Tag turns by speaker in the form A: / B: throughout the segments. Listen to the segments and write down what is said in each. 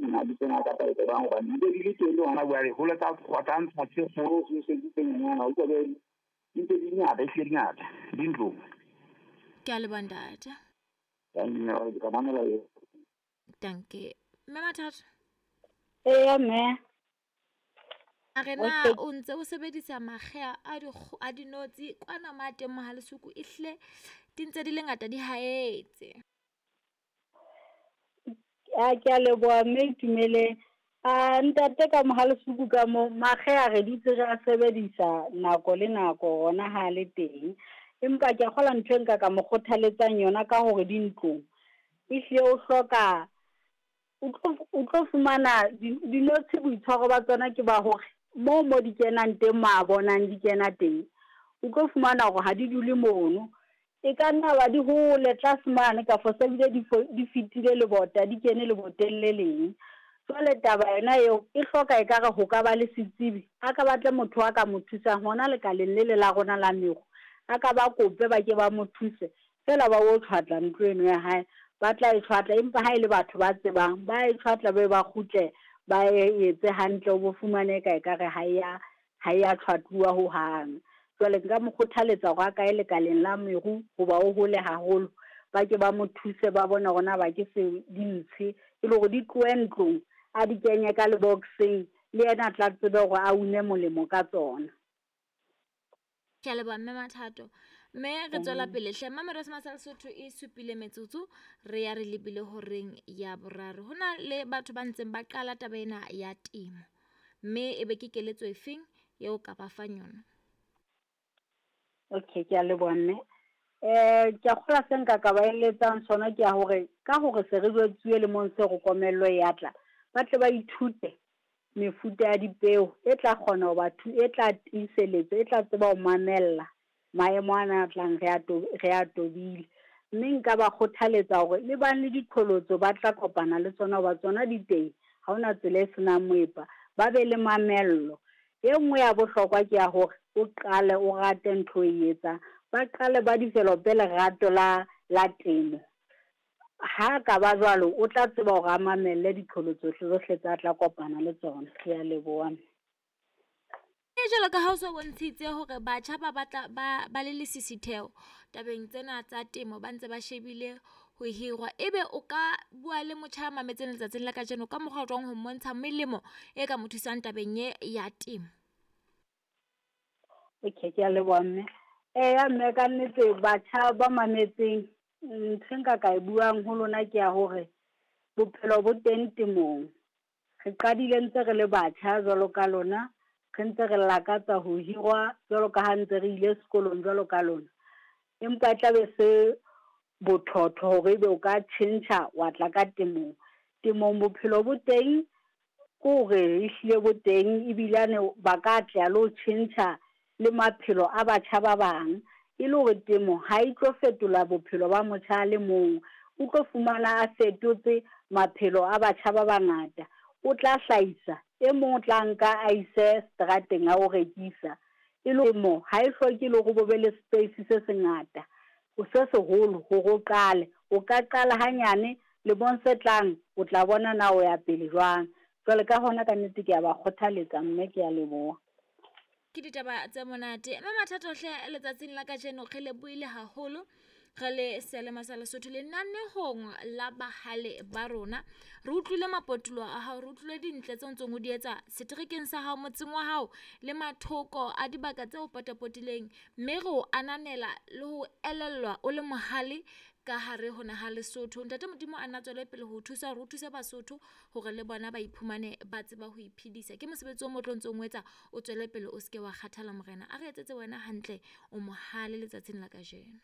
A: Mabitsong a kapa e bang hobane di di le teng hona jwale hole tsa tsa ntsha tse kgolo se se tse nyenyana o utlwa di ntse di ngata, ehlile di ngata di ntlong.
B: Ke a leboha ntate.
A: Ka mamela eo.
B: Dankie. Mme Mathatho.
C: Eya mme.
B: A re na o ntse o sebedisa makgea a di a dinotshi kwana ma teng Mohale'shoek ehlile di ntse di le ngata di haetse.
C: A ke a leboha mme Itumeleng. A ntate ka Mohale'shoek ka mo makge a re dutse re a sebedisa nako le nako ona ha le teng. Empa ke a kgolwa ntho e nka ka mo kgothaletsang yona ka hore di ntlong, ehlile o hloka o tlo fumana dinotshi boitshwaro ba tsona ke ba hore moo mo di kenang teng mo a bonang di kena teng, o tlo fumana hore ha di dule mono. E ka nna ba di hole tlase mane kafo se bile di fetile lebota, di kene leboteng le leng. Jwale taba yona eo e hloka ekare ho ka ba le setsebi, a ka batle motho a ka mo thusang hona lekaleng le le la rona la meru. A ka ba kope ba ke ba mo thuse, feela ba o tjhwatla ntlo eno ya hae. Ba tla e tjhwatla, empa ha ele batho ba tsebang, ba e tjhwatla be ba kgutle ba e etse hantle o bo fumane ka ekare ha ya tjhwatluwa hohang. Jwale nka mo kgothaletsa hore a kae lekaleng la meru hoba o hole haholo. Ba ke ba mo thuse ba bone hore na ba ke se di ntshe, e le hore di tlohe ntlong, a di kenye ka lebokseng, le yena a tla tsebe hore a une molemo ka tsona.
B: Ke a leboha mme Mathato. Mme re tswela pele hle. Mamelodi sa Lesotho e supile metsotso re ya re lebile horeng ya boraro. Hona le batho ba ntseng ba qala taba ena ya temo. Mme ebe ke keletso efeng eo ka ba fang yona?
C: Okay, ke a leboha mme. Ke a kgolwa se nka ka ba eletsang sona ke ya hore ka hore se re jwetsuwe lemong se re komello ya tla, ba tle ba ithute mefuta ya dipeo e tla kgona ho ba e tla tiiseletsa, e tla tseba ho mamella maemo ana a tlang re a tobile. Mme nka ba kgothaletsa hore le bang le diqholotso ba tla kopana le tsona hoba tsona di teng, ha hona tsela e senang moepa, ba be le mamello. E nngwe ya bohlokwa ke ya hore o qale o rate ntho e etsang, ba qale ba develop-e lerato la temo. Ha ka ba jwalo, o tla tseba hore a mamelle diqholotso tsohle tsa tla kopana le tsona. Ke a leboha.
B: E jwalo ka ha o so bontshitse hore batjha ba batla ba le lesisitheho tabeng tsena tsa temo, ba ntse ba shebile ho hirwa. Ebe o ka bua le motjha ya mametseng letsatsing la kajeno ka mokgwa o jwang ho mmontsha melemo e ka mo thusang tabeng e ya temo?
C: Okay, ke a leboha mme. Eya mme ka nnete batjha ba mametseng, ntho e nka ka e buang ho lona ke ya hore bophelo bo teng temong. Re qadile ntse re le batjha jwalo ka lona, re ntse re lakatsa ho hirwa jwalo ka ha ntse re ile sekolong jwalo ka lona. Empa e tla be se bothotho hore ebe o ka tjhentjha wa tla ka temong. Temong bophelo bo teng, ke hore ehlile bo teng ebilane ba ka atleha le ho tjhentjha le maphelo a batjha ba bang. E le hore temo ha e tlo fetola bophelo ba motjha a le mong, o tlo fumana a fetotse maphelo a batjha ba bangata. O tla hlahisa, e mong o tla nka a ise seterateng a o rekisa. E le mo ha e hloke le hore bo be le space se sengata, se seholo hore o qale. O ka qala hanyane, lemong se tlang o tla bona na o ya pele jwang. Jwale ka hona ka nnete ke a ba kgothaletsa mme ke a leboha.
B: Ke ditaba tse monate. Mme Mathato hle letsatsing la kajeno re lebohile haholo re le seyalemoya sa Lesotho lenanehong la bahale ba rona. Re utlwile mapotulo a hao, re utlwile dintle tse ntseng o di etsa seterekeng sa hao, motseng wa hao le mathoko a dibaka tse o potapotileng. Mme re o ananela le ho elellwa o le mohale ka hare ho naha Lesotho. Ntate Modimo a nna tswele pele ho thusa hore o thuse Basotho hore le bona ba iphumane ba tseba ho iphedisa. Ke mosebetsi o motle o ntsong o etsa, o tswele pele o seke wa kgathala morena. A re etsetse wena hantle, o mohale letsatsing la kajeno.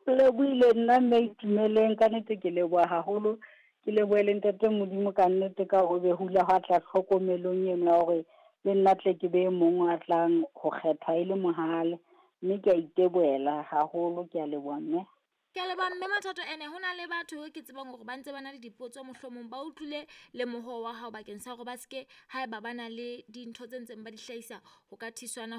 C: Lebohile nna mme Itumeleng, ka nnete ke leboha haholo. Ke lebohe le ntate Modimo ka nnete ka hore be ho ile hwa tla tlhokomelong eno ya hore le nna tle ke be mong a tlang ho kgethwa e le mohale. Mme ke a itebohela haholo, ke a leboha mme.
B: Ke a leboha mme Mathato. Ene hona le batho ke tsebang hore ba ntse ba na le dipotso, mohlomong ba utlwile le mohoo wa hao bakeng sa hore ba seke haeba ba na le dintho tse ntseng ba di hlahisa ho ka thusana.